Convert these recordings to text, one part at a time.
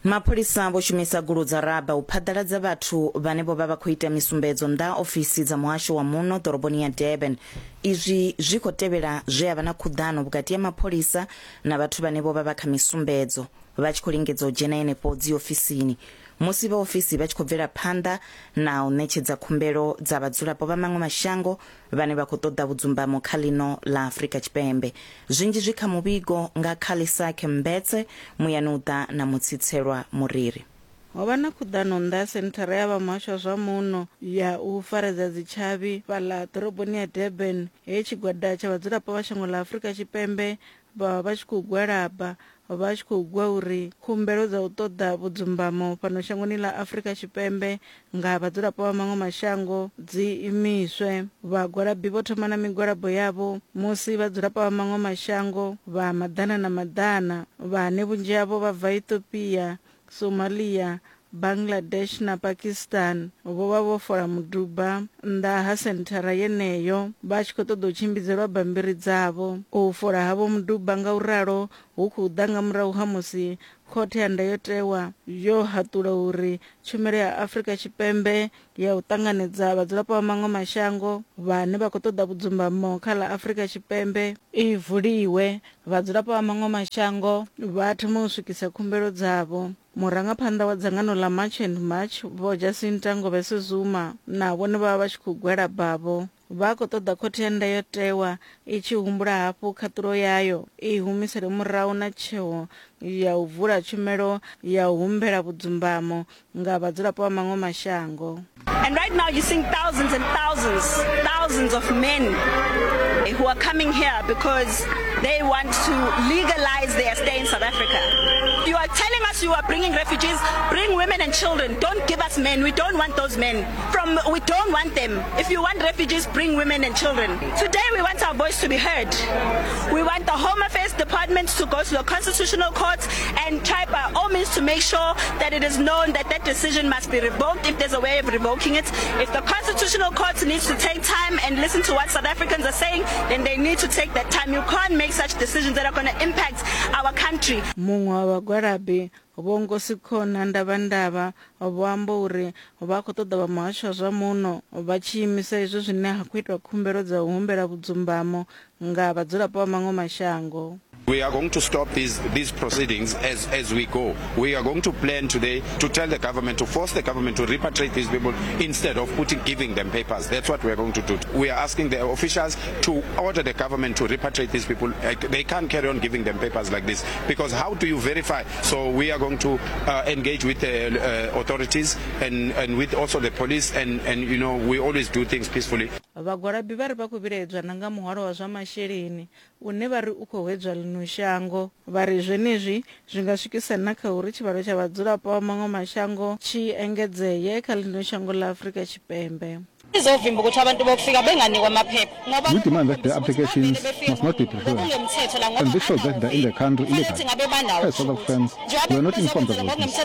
Mapholisa vho shumisa gulu dza raba u phaḓaladza vhathu vhane vho vha vha khou ita misumbedzo nnḓa ha ofisi dza muhasho wa muno ḓoroboni ya Durban. Izwi zwi khou tevhela zwe ha vha na khuḓano vhukati ha mapholisa na vhathu vhane vho vha vha kha misumbedzo vha tshi khou lingedza u dzhena henefho dziofisini musi vhaofisi vha tshi khou bvela phanḓa na u ṋetshedza khumbelo dza vhadzulapo vha maṅwe mashango vhane vha khou ṱoḓa vhudzumbamo kha ḽino ḽa Afrika Tshipembe. Zwinzhi zwi kha muvhigo nga Khalisakhe Mbetse, muyani u ḓa na Mutsitselwa Muriri. Ho vha na khuḓano nnḓa ha senthara ya vha muhasho wa zwa muno ya u faredza dzitshavhi fhaḽa ḓoroboni ya Durban he tshigwada tsha vhadzulapo vha shango ḽa Afrika Tshipembe vha vha vha tshi khou gwalaba vha tshi khou gwa uri khumbelo dza u ṱoḓa vhudzumbamo fhano shangoni ḽa Afrika Tshipembe nga vhadzulapo vha maṅwe mashango dzi imiswe. Vhagwalabi vho thoma na migwalabo yavho musi vhadzulapo vha maṅwe mashango vha maḓana na maḓana vhane vhunzhi havho vha bva Ethiopia, Somalia, Bangladesh na Pakistan vho vha vho fola muduba nnḓa ha senthara yeneyo vha tshi khou ṱoḓa u tshimbidzelwa bammbiri dzavho. U fola havho muduba nga u ralo hu khou ḓa nga murahu ha musi Khothe ya Ndayotewa yo haṱula uri Tshumelo ya Afrika Tshipembe ya u ṱanganedza vhadzulapo vha maṅwe mashango vhane vha khou ṱoḓa vhudzumbamo kha ḽa Afrika Tshipembe i vuliwe, vhadzulapo vha maṅwe mashango vha thome u swikisa khumbelo dzavho. Murangaphanḓa wa dzangano ḽa March and March Vho Jacinta Ngobese Zuma na vhone vha vha vha tshi khou gwalabavho. Vha khou ṱoḓa Khothe ya Ndayotewa i tshi humbula hafhu khaṱulo yayo, i humisele murahu na tsheo ya u vula tshumelo ya u humbela vhudzumbamo nga vhadzulapo vha maṅwe mashango. And right now you're seeing thousands and thousands, thousands of men who are coming here because they want to legalize their stay in South Africa. You are telling us you are bringing refugees, bring women and children. Don't give us men. We don't want those men. From we don't want them. If you want refugees, bring women and children. Today we want our voice to be heard. We want the Home Affairs Department to go to the Constitutional Court and try by all means to make sure that it is known that that decision must be revoked if there's a way of revoking it. If the Constitutional Court needs to take time and listen to what South Africans are saying, then they need to take that time. You can't make such decisions that are going to impact our country. Muṅwe wa vhagwalabi Vho Nkosikhona Ndavhandavha vho amba uri vha khou ṱoḓa vha muhasho wa zwa muno vha tshi imisa izwo zwine ha khou itwa khumbelo dza u humbela vhudzumbamo nga vhadzulapo vha maṅwe mashango. We are going to stop these, these proceedings as, as we go. We are going to plan today to tell the government, to force the government to repatriate these people instead of putting, giving them papers. That's what we are going to do. We are asking the officials to order the government to repatriate these people. They can't carry on giving them papers like this because how do you verify? So we are going to uh, engage with the uh, authorities and, and with also the police and, and you know we always do things peacefully. Vhagwalabi vha ri vha khou vhilaedzwa na nga muhwalo wa zwa masheleni une vha ri u khou hwedzwa ḽino shango. Vha ri zwenezwi zwi nga swikisa na kha uri tshivhalo tsha vhadzulapo vha maṅwe mashango tshi engedzee kha ḽino shango ḽa Afrika Tshipembe. Izovimba ukuthi abantu bokufika benganikwa amaphepha ngoba We demand that their applications must not be preferred, and this shows that they're in the country illegally. As South Africans, we are not informed about this,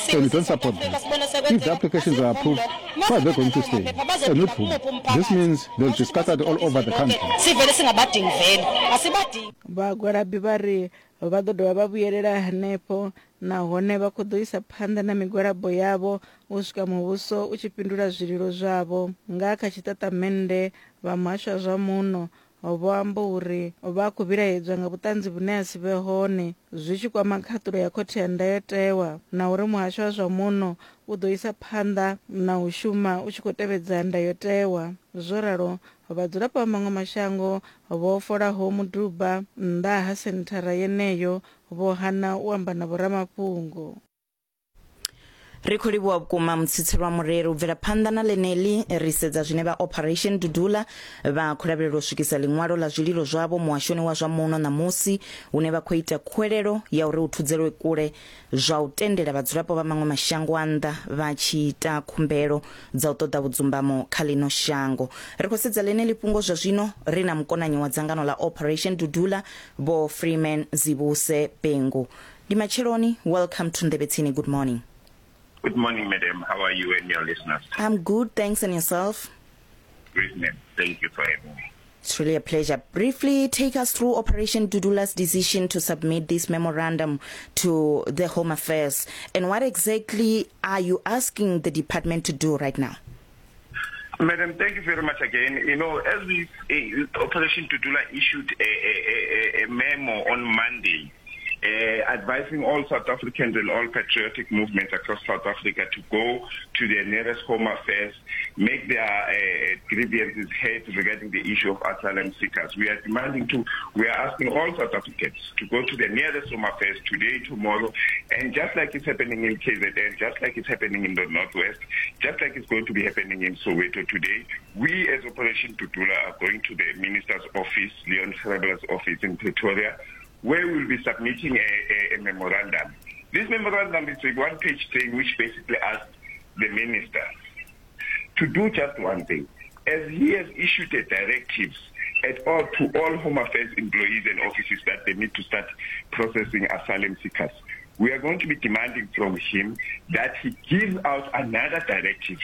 so we don't support them. If the applications are approved, where are they going to stay? And with whom? This means they'll be scattered all over the country. Sivele singabadingi vele asibadingi. Vhagwalabi vha ri vha ḓo dovha vha vhuyelela hanefho nahone vha khou ḓo isa phanḓa na migwalabo yavho u swika muvhuso u tshi fhindula zwililo zwavho. Nga kha tshiṱaṱamennde, vha Muhasho wa zwa Muno vho amba uri vha khou vhilaedzwa nga vhuṱanzi vhune ha si vhe hone zwi tshi kwama khaṱulo ya Khothe ya Ndayotewa na uri Muhasho wa zwa Muno u ḓo isa phanḓa na u shuma u tshi khou tevhedza ndayotewa. Zwo ralo, vhadzulapo vha maṅwe mashango vho folaho muduba nnḓa ha senthara yeneyo vho hana u amba na vhoramafhungo. Ri khou livhuwa vhukuma Mutsitsi lwa Mureri. U bvela phanḓa na ḽeneḽi, ri sedza zwine vha Operation Dudula vha khou lavhelela u swikisa ḽiṅwalo ḽa zwililo zwavho muhashoni wa zwa muno ṋamusi, hune vha khou ita khuwelelo ya uri hu thudzelwe kule zwa u tendela vhadzulapo vha maṅwe mashango a nnḓa vha tshi ita khumbelo dza u ṱoḓa vhudzumbamo kha ḽino shango. Ri khou sedza ḽeneḽi fhungo zwa zwino ri na mukonanyi wa dzangano ḽa Operation Dudula Vho Freeman Zibuse Bhengu. Ndi matsheloni, welcome to Nḓevhe Tsini. Good morning. Good morning, madam. How are you and your listeners? I'm good, thanks, and yourself? Great, ma'am. Thank you for having me. It's really a pleasure. Briefly, take us through Operation Dudula's decision to submit this memorandum to the Home Affairs. And what exactly are you asking the department to do right now? Madam, thank you very much again. You know, as we, Operation Dudula issued a, a, a, a memo on Monday advising all South Africans and all patriotic movements across South Africa to go to their nearest Home Affairs, make their grievances heard regarding the issue of asylum seekers. We are demanding to, we are asking all South Africans to go to the nearest Home Affairs today, tomorrow, and just like it's happening in KZN, just like it's happening in the Northwest, just like it's going to be happening in Soweto today, we as Operation Dudula are going to the Minister's office, Leon Schreiber's office in Pretoria, where we'll be submitting a, a, a memorandum. This memorandum is a one-page thing which basically asks the minister to do just one thing. As he has issued the directives at all to all Home Affairs employees and offices that they need to start processing asylum seekers, we are going to be demanding from him that he gives out another directive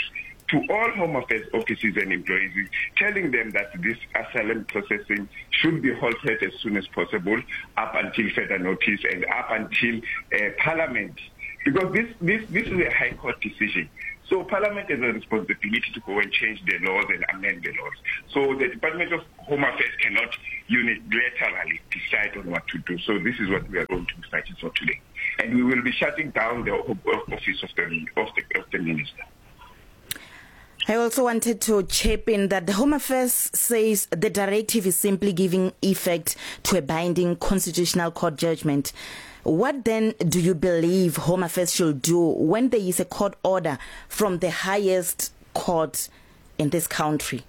to all Home Affairs offices and employees, telling them that this asylum processing should be halted as soon as possible up until further notice and up until Parliament. Because this, this, this is a High Court decision. So Parliament has a responsibility to go and change the laws and amend the laws. So the Department of Home Affairs cannot unilaterally decide on what to do. So this is what we are going to be fighting for today. And we will be shutting down the office of the, of the, of the minister. I also wanted to chip in that the Home Affairs says the directive is simply giving effect to a binding constitutional court judgment. What then do you believe Home Affairs should do when there is a court order from the highest court in this country?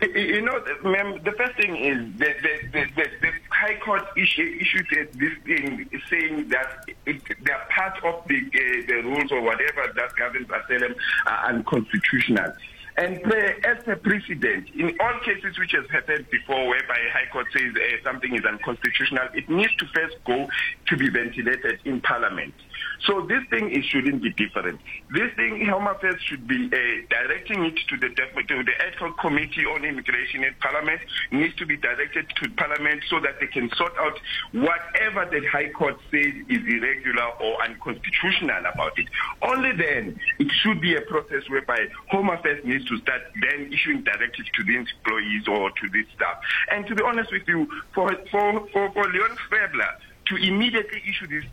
You know, ma'am, the first thing is the, the, the, the, the High Court issue, issued this thing saying that it, they are part of the, the rules or whatever that governs asylum are unconstitutional. And as a precedent, in all cases which has happened before whereby High Court says something is unconstitutional, it needs to first go to be ventilated in Parliament. So this thing it shouldn't be different. This thing, Home Affairs should be directing it to the to the ad hoc committee on immigration in Parliament, needs to be directed to Parliament so that they can sort out whatever the High Court says is irregular or unconstitutional about it. Only then it should be a process whereby Home Affairs needs to start then issuing directives to the employees or to the staff. And to be honest with you, for, for, for, for Leon Frebler, to immediately issue this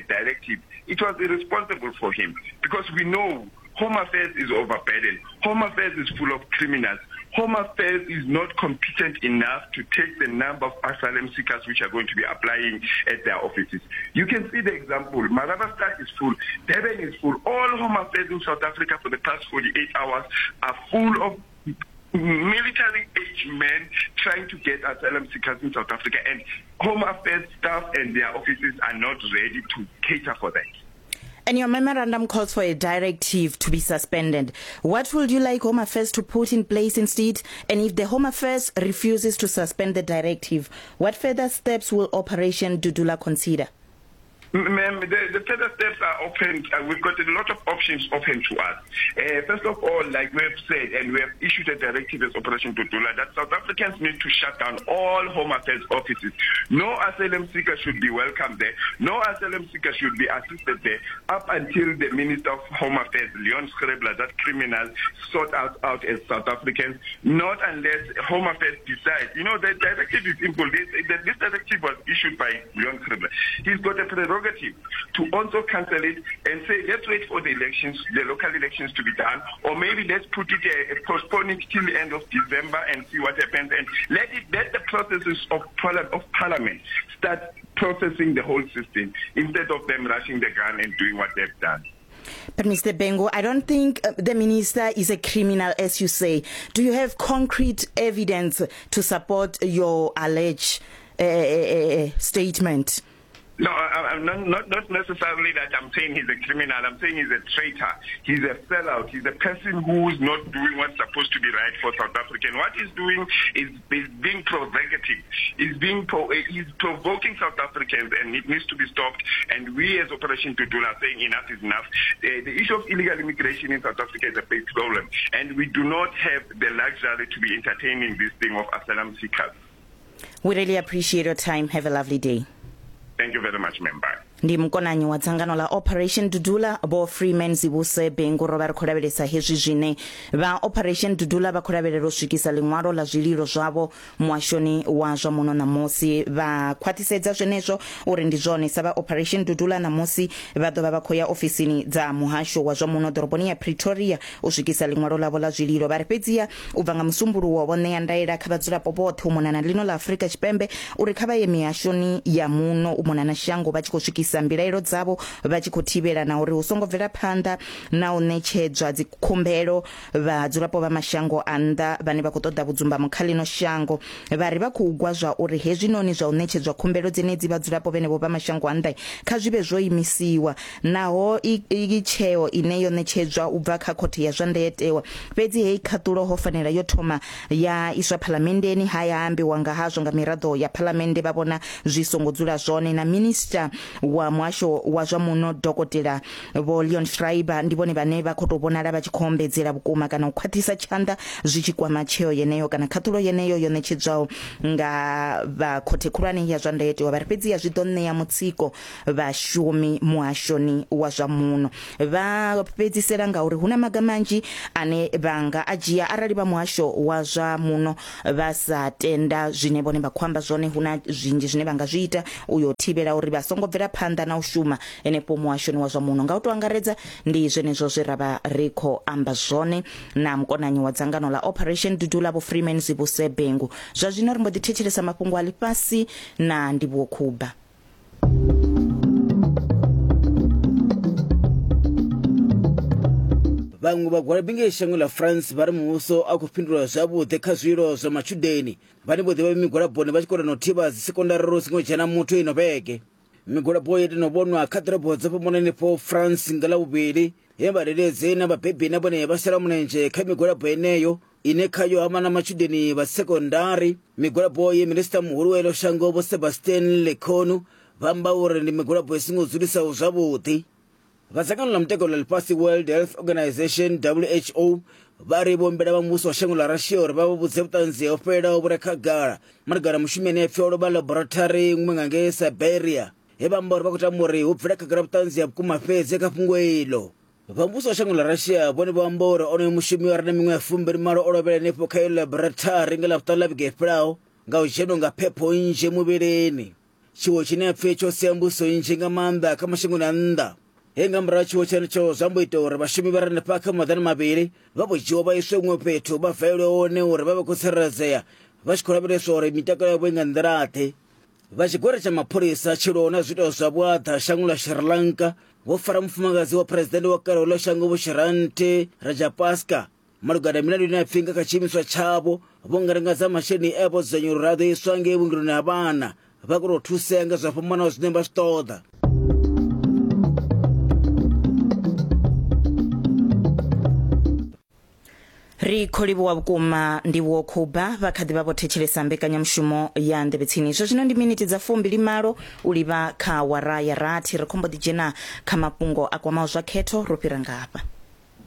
directive, it was irresponsible for him because we know Home Affairs is overburdened. Home Affairs is full of criminals. Home Affairs is not competent enough to take the number of asylum seekers which are going to be applying at their offices. You can see the example. Marabastad is full. Durban is full. All Home Affairs in South Africa for the past 48 hours are full of military age men trying to get asylum seekers in South Africa, and Home Affairs staff and their offices are not ready to cater for that. And your memorandum calls for a directive to be suspended. What would you like Home Affairs to put in place instead? And if the Home Affairs refuses to suspend the directive, what further steps will Operation Dudula consider? Ma'am, the, the further steps are open. We've got a lot of options open to us. First of all, like we have said, and we have issued a directive as Operation Dudula, that South Africans need to shut down all Home Affairs offices. No asylum seeker should be welcomed there. No asylum seeker should be assisted there up until the Minister of Home Affairs, Leon Schreiber, that criminal, sort us out as South Africans, not unless Home Affairs decides. You know, the directive is simple. This, this directive was issued by Leon Schreiber. He's got a prerogative to also cancel it and say, let's wait for the elections, the local elections to be done, or maybe let's put it, postpone it till the end of December and see what happens, and let it, let the processes of, of Parliament start processing the whole system instead of them rushing the gun and doing what they've done. But Mr. Bengo, I don't think the minister is a criminal, as you say. Do you have concrete evidence to support your alleged statement? No, I'm not necessarily that I'm saying he's a criminal. I'm saying he's a traitor. He's a sellout. He's a person who's not doing what's supposed to be right for South Africa. And what he's doing is being provocative. He's provoking South Africans, and it needs to be stopped. And we as Operation Dudula are saying enough is enough. The issue of illegal immigration in South Africa is a big problem. And we do not have the luxury to be entertaining this thing of asylum seekers. We really appreciate your time. Have a lovely day. Thank you very much, ma'am. Bye. Ndi mukonanyi wa dzangano ḽa Operation Dudula Vho Freeman Zibuse Bengu. Ro vha ri khou lavhelesa hezwi zwine vha Operation Dudula vha khou lavhelela u swikisa ḽiṅwalo ḽa zwililo zwavho muhashoni wa zwa muno ṋamusi. Vha khwaṱhisedza zwenezwo uri ndi zwone sa vha Operation Dudula ṋamusi vha ḓo vha vha khou ya ofisini dza muhasho wa zwa muno ḓoroboni ya Pretoria u swikisa ḽiṅwalo ḽavho ḽa zwililo. Vha ri fhedziha u bva nga Musumbuluwo vho ṋea ndaela kha vhadzulapo vhoṱhe u mona na ḽino ḽa Afrika Tshipembe uri kha vha ye mihashoni ya muno u mona na shango vha tshi khou swikisa mbilaelo dzavho vha tshi khou thivhela na uri hu songo bvela phanḓa na u ṋetshedzwa dzikhumbelo vhadzulapo vha mashango a nnḓa vhane vha khou ṱoḓa vhudzumbamo kha ḽino shango. Vha ri vha khou gwa zwa uri hezwinoni zwa u ṋetshedzwa khumbelo dzenedzi vhadzulapo vhenevho vha mashango a nnḓa kha zwi vhe zwo imisiwa naho i i tsheo ine yo ṋetshedzwa u bva kha khothe ya zwa ndayotewa. Fhedzi heyi khaṱulo ho fanela yo thoma ya iswa phalamenndeni ha ya ambiwa nga hazwo nga miraḓo ya phalamennde vha vhona zwi songo dzula zwone. Na minisiṱa wa muhasho wa zwa muno Dokotela Vho Leon Schreiber ndi vhone vhane vha khou tou vhonala vha tshi khou ombedzela vhukuma kana u khwaṱhisa tshanḓa zwi tshi kwama tsheo yeneyo kana khaṱulo yeneyo yo ṋetshedzwaho nga vha khothe khulwane ya zwa ndayotewa. Vha ri fhedziha zwi ḓo ṋea mutsiko vhashumi muhashoni wa zwa muno. Vha fhedzisela nga uri hu na maga manzhi ane vha nga a dzhia arali vha muhasho wa zwa muno vha sa tenda zwine vhone vha khou amba zwone. Hu na zwinzhi zwine vha nga zwi ita u yo thivhela uri vha songo bvela phanḓa na u shuma henefho muhashoni wa zwa muno. Nga u tou angaredza ndi zwenezwo zwe ra vha ri khou amba zwone na mukonanyi wa dzangano ḽa Operation Dudula Vho Freeman Zibuse Bhengu. Zwa zwino ri mbo ḓi thetshelesa mafhungo a ḽifhasi na Ndivhuwo Khuba. Vhaṅwe vhagwalabi ngei shango ḽa France vha ri muvhuso a khou fhindula zwavhuḓi kha zwilo zwa matshudeni vhane vho ḓivha migwalaboni vha tshi kona no thivha dzisekondari ro singo dzhena muthu ino vhege. Migwalabo yo no vhonwa kha ḓorobo dzo fhambananaho France nga Ḽavhuvhili he vhadededzi na vhabebi na vhone vha shela mulenzhe kha migwalabo yeneyo ine khayo ha vha na matshudeni vha sekondari. Migwalabo ye minisiṱa muhulu wa iḽo shango Vho Sebastien Lecornu vha amba uri ndi migwalabo i songo dzulisaho zwavhuḓi. Vha dzangano ḽa mutakalo ḽa ḽifhasi World Health Organization WHO vha ri vho humbela vha muvhuso wa shango ḽa Russia uri vha vha vhudze vhuṱanzi ho fhelelaho vhu re khagala malugana na mushumi ane a pfi o lovha laboratory iṅwe nga ngei Siberia he vha amba uri vha khou tama uri hu bvele khagala vhuṱanzi ha vhukuma fhedzi kha fhungo iḽo. Vha muvhuso wa shango ḽa Russia vhone vho amba uri onoyo mushumi a re na miṅwaha ya fumbili malo o lovhela henefho kha iyo laboratory nga Ḽavhuṱanu ḽa vhege i fhelaho nga u dzhenwa nga phepho nnzhi muvhilini. Tshiwo tshine ha pfi tsho sia mbudziso nnzhi nga maanḓa kha mashangoni a nnḓa, he nga murahu ha tshiwo tshenetsho zwa mbo ita uri vhashumi vha re hanefha kha maḓana mavhili vha vho dzhiwa vha iswe huṅwe fhethu vha valelwe hone uri vha vhe khou tsireledzea vha tshi khou lavheleswa uri mitakalo yavho i nga nḓila-ḓe. Vha tshigwada tsha mapholisa tshi lwaho na zwiito zwa vhuaḓa shangoni ḽa Sri Lanka vho fara mufumakadzi wa phuresidennde wa kale wa ḽo shango Vho Shiranthi Rajapaksa malugana na milandu ine ya pfi nga kha tshiimiswa tshavho vho ngalangadza masheleni e a vho dzudzanywa uri a ḓo iswa ngei vhuongeloni ha vhana vha kone u thusea nga zwa fhambanaho zwine vha zwi ṱoḓa. Ri khou livhuwa vhukuma Ndivhuwo Khuba vha kha ḓi vha vho thetshelesa mbekanyamushumo ya Nḓevhe Tsini. Zwa zwino ndi miniti dza fumbili malo u livha kha wara ya rathi. Ri khou mbo ḓi dzhena kha mafhungo a kwamaho zwa khetho ro fhira nga hafha.